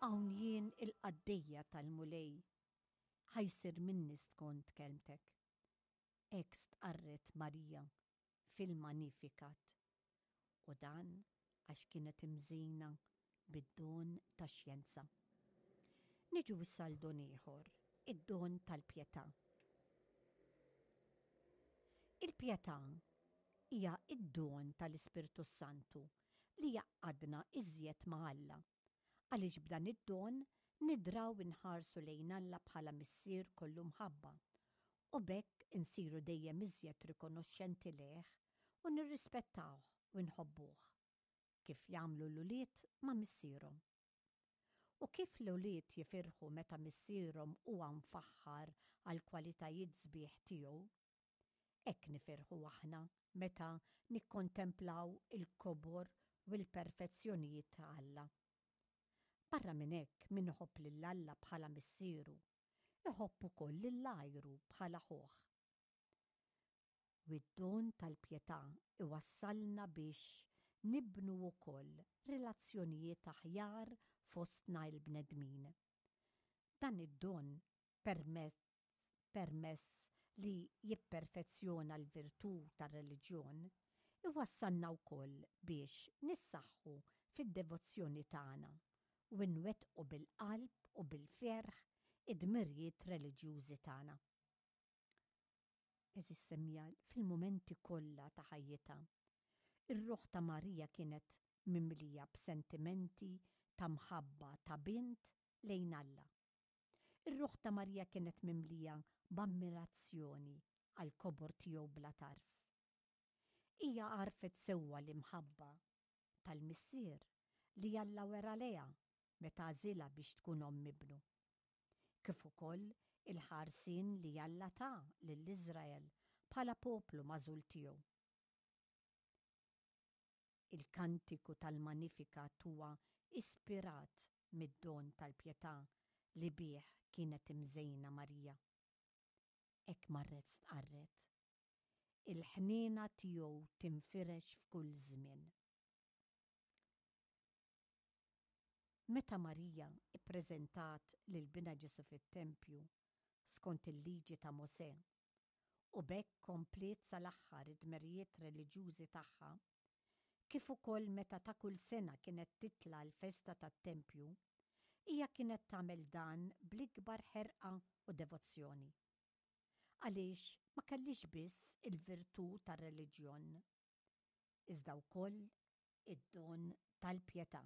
Hawn jien il-qaddejja tal-Mulej, ħa jsir minni skont kelmtek. Hekk stqarret Marija fil-Magnificat, u dan għax kienet imżejna bid-don tax-xjenza. Niġu issa għal don ieħor, id-don tal-pjetà. Il-pjetà hija d-don tal-Ispirtu s-Santu li jgħaqqadna iżjed ma' Alla, għaliex b'dan id-don nidraw inħarsu lejn Alla bħala Missier kollu mħabba, u b'hekk insiru dejjem iżjed rikonoxxenti lejh u nirrispettawh u nħobbuh, kif jagħmlu l-ulied ma' missierhom. U kif l-ulied jifirħu meta missierhom huwa mfaħħar għall-kwalitajiet sbieħ tiegħu, Hekk nifirħu aħna meta nikkontemplaw il-kobor u l-perfezzjonijiet ta' Alla. Barra minn hekk, min iħobb lil Alla bħala Missieru, iħobb ukoll lil għajru bħala ħuh. U d-don tal-pjetà iwassalna biex nibnu wkoll relazzjonijiet aħjar fostna l-bnedmin. Dan id-don permezz permess li jipperfezzjona l-virtù tar-reliġjon, iwassalna wkoll biex nissaħħu fid-devozzjoni tagħna u nwettqu bil-qalb u bil-ferħ id-dmirijiet reliġjużi tagħna. Għeżież semmiegħa, fil-mumenti kollha ta' ħajjitha, ir-ruħ ta' Marija kienet mimlija b'sentimenti ta' mħabba ta' bint lejn Alla. Ir-ruħ ta' Marija kienet mimlija b'ammirazzjoni għall-kobor tiegħu bla tarf. Hija għarfet sewwa l-imħabba tal-Missier li Alla wera lejha meta għażilha biex tkun omm ibnu, kif ukoll il-ħarsien li Alla ta lil Iżrael bħala poplu magħżul tiegħu. Il-kantiku tal-Magnificat huwa ispirat mid-don tal-pjetà li bih kienet imżejna Marija. Hekk marret stqarret, Il-ħniena tiegħu tinfirex f'kull żmien. Meta Marija ppreżentat lil binha Ġesù fit-tempju skont il-Liġi ta' Mosè, u b'hekk kompliet sal-aħħar id-dmerijiet reliġjużi tagħha, kif ukoll meta ta' kull sena kienet titla' l-festa tat-tempju, hija kienet tagħmel dan bl-ikbar ħerqa u devozzjoni. Għaliex ma kellhiex biss il-virtù tar-reliġjon, iżda wkoll id-don tal-pjetà.